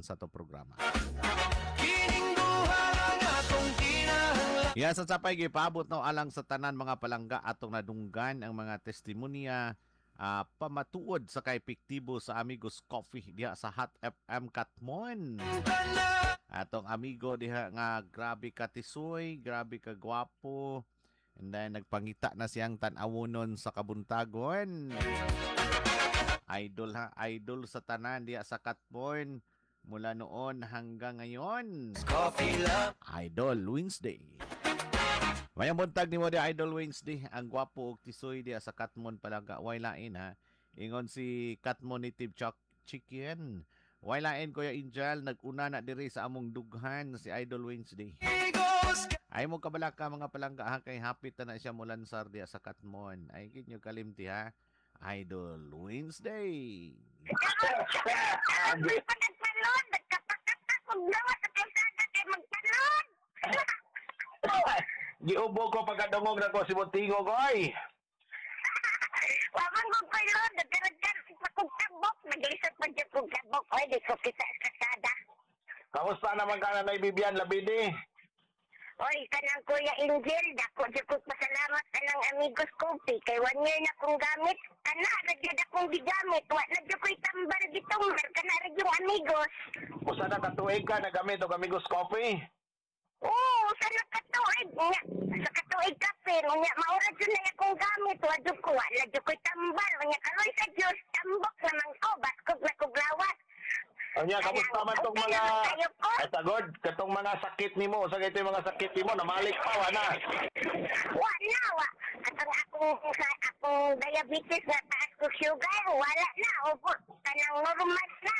Sa to programa. Kining duha lang atong kinahanglan. Ya, sa sapay gipaabot no alang sa tanan mga palangga atong nadunggan ang mga testimonya pamatuod sa kay epektibo sa Amigos Coffee diha sa Hot FM Katmon. Atong amigo diha nga grabe ka tisoy, grabe ka gwapo. And then nagpangita na siyang tan-awonon sa kabuntagon. Idol ha, idol sa tanan diha sa Katmon mula noon hanggang ngayon. Coffee love. Idol Wednesday. Mayang buntag nimo di, Idol Wednesday. Ang gwapo og tisoy diha sa Katmon, palangga. Way lain ha. Ingon si Katmon Native Chuck Chicken. Way lain, Kuya Angel, nag-una na diri sa among dughan si Idol Wednesday. Amigos. Ay mo kabalaka, mga palangga ha, kay hapit na na siya mulansar diha sa Katmon. Ay kinyo kalimti ha. Idol Wednesday. Ako'y pa nagpalod, nagkapakatak, kung gawa sa kalsada kay magpalod. Giubo ko pagkadungog na ko si Buntingo ko ay. Wamang kong palod, nagkaragkar pa kong kabok, naglisod pa dyan kong kabok, oy, di ko kita sa kalsada. Kamusta naman ka na Bibian Labidi? Oy, kanang Kuya Angel, dako dyan ko pasalamat kanang Amigos Coffee, kay one year na kong gamit, kana, ra gyud akong gigamit, wa na gyud ko'y tambal gitumbar, kana ra yung Amigos. Usa na katuig ka nagamit og Amigos Coffee? Oo, sa nakatuig nga, sa katuig kape, unya maura jud na akong gamit, wa jud ko, wala jud ko'y tambal, unya karoy sa Dios, tambok naman ko, baskog na kog lawas. Unya, kamusta man tong Okay mga naman kayo ko. Ay tagod katong mga sakit nimo, usa kay mga sakit nimo namalik pa wa na? Wa na, wa. Katong akong, sa akong diabetes na taas ko sugar, wala na, opo, kanang normal na.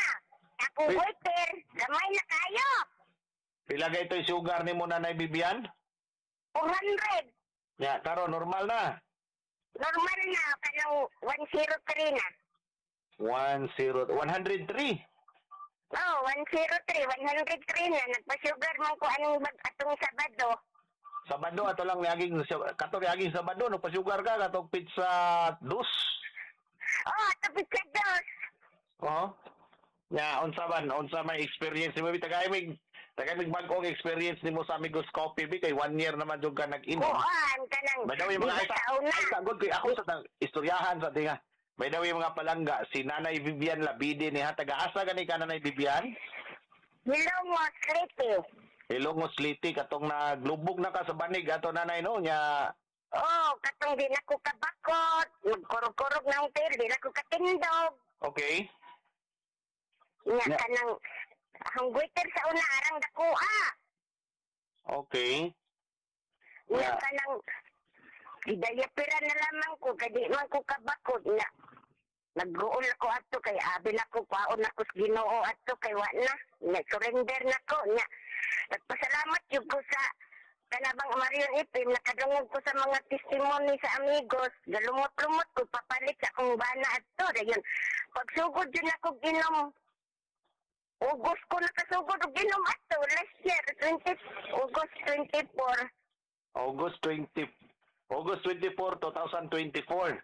Akong Wait. goiter, gamay na kayo. Pila kay ito'y sugar nimo, Nanay Bibian? 400. Ya, karon normal na. Normal na, kanang 103 na. 10 103. Oh, 103, 103 na. Nagpa-sugar man ko anong bag atong Sabado. Sabado ato lang niaging kato niaging Sabado no pa-sugar ka katong pizza dos. Oh, ato pizza dos. Oo. Ya, unsa man, unsa may experience nimo bi tagay mig bag-ong experience nimo sa Amigos Coffee bi kay one year naman jud ka nag-inom. Kuan, kanang By the way, mga di ba ay, sa una? Ay, sagod kay ako sa istoryahan sa tinga. By the way, mga palangga, si Nanay Vivian Labide ni ha, taga-asa gani ka, Nanay Vivian? Hilongos, Leyte. Hilongos, Leyte, katong naglubog na ka sa banig ato, Nanay, no nya. Oh, katong di na ko kabakot, magkurog-kurog na ang tail, di na ko katindog. Nya kanang ang goiter sa una arang dakuha. Nya kanang gidayapira na lamang ko kay di man ko kabakot nya. Nagguol ako ato kay abi na ko kwaon ako sa Ginoo ato kay wa na. Nya surrender na ko nya. Nagpasalamat jud ko sa kanabang Marion Ipim, nakadungog ko sa mga testimony sa Amigos, galumot-lumot ko papalit sa akong bana ato. Dayon pagsugod jud ako ginom, August ko nakasugod og ginom ato last year, 20 August 24. August 20 August 24, 2024.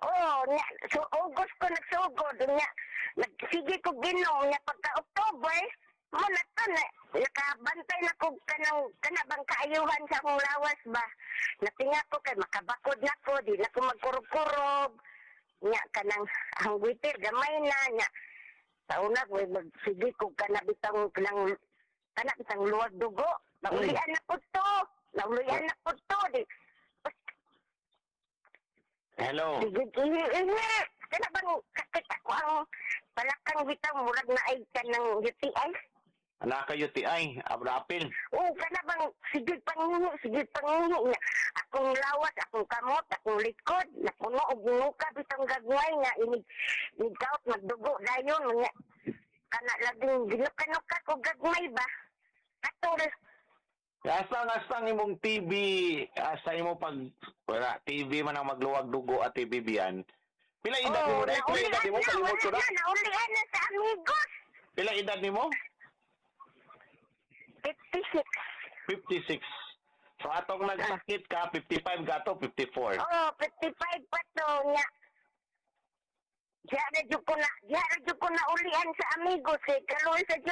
Oh, nya, so August ko nagsugod nya. Nagsige ko ginom nya pagka October, mo na to na nakabantay na ko kanang kanabang kaayuhan sa akong lawas ba. Natinga ko kay makabakod na ko, di na ko magkurog-kurog. Nya kanang ang goiter gamay na nya. Sa una ko magsige ko kana bitang kanang kana bitang luwag dugo. Naulian na ko to. Naulian na ko to. Di, Hello. sige, ihi, ihi. Kana bang sakit ako ang palakang bitaw murag na ay kanang UTI? Anak ka UTI, abrapil. Oo, kana bang sige pangihi, sige pangihi niya. Akong lawas, akong kamot, akong likod, napuno og nuka bitong gagmay nga inig inig magdugo dayon nga kana laging ginuka-nuka ko gagmay ba. Katol. Asa nga sa imong TB, asa imo pag wala TB man ang magluwag dugo at TB biyan. Pila edad nimo na? Pila edad nimo? Naulian na, Kalimot ko wala na. na, naulian na sa Amigos. Pila edad nimo? 56. 56. So atong nagsakit ka 55 ka to 54. Oh, 55 pa to niya. Diya na jud ko na, diya na jud ko na ulian sa Amigos kay kaluoy sa